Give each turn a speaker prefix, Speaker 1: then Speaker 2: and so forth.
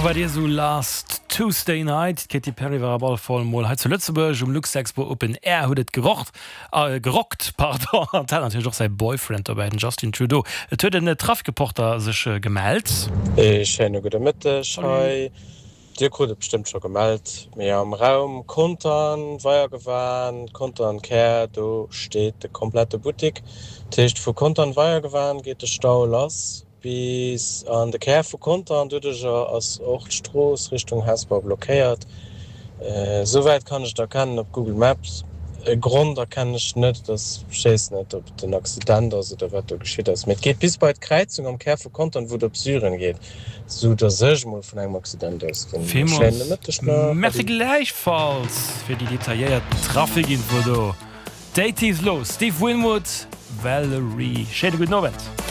Speaker 1: War dir sou last Tuesday night? D'Katy Perry war op alle Fall mol hei zu Lëtzebuerg um Luxexpo Open Air, huet et gerocht, gerockt, pardon, an hat natierlech och säi Boyfriend dobäi, den Justin Trudeau. Et huet en Trafikreporter sech gemellt.
Speaker 2: Ee schéine gudde Mëtteg hei. Dir krut et bestëmmt scho gemellt, mee am Raum Contern, Weiergewan, Contern Kär, do steet de komplette Buttik. Dat heescht vu Contern, Weiergewan geet de Stau lass bis an de Kär vu Contern. Doduercher ass och d'Strooss Richtung Hesper blockéiert. Esouwäit kann ech et erkennen op Google Maps. E Grond erkennen ech net, et ass, ech weess net ob et en Accident ass oder wat do geschitt ass, mee et geet bis bei d'Kräizung am Kär vu Contern, wou et op Syren geet. Sou dass ech mol vun engem Accident ausginn.
Speaker 1: Villmools Schéine Mëtteg nach. Merci Ade. gläichfalls fir déi detailléiert Trafikinfo do. D'Eighties los, Steve Winwood, Valerie. Schéine gudden Owend.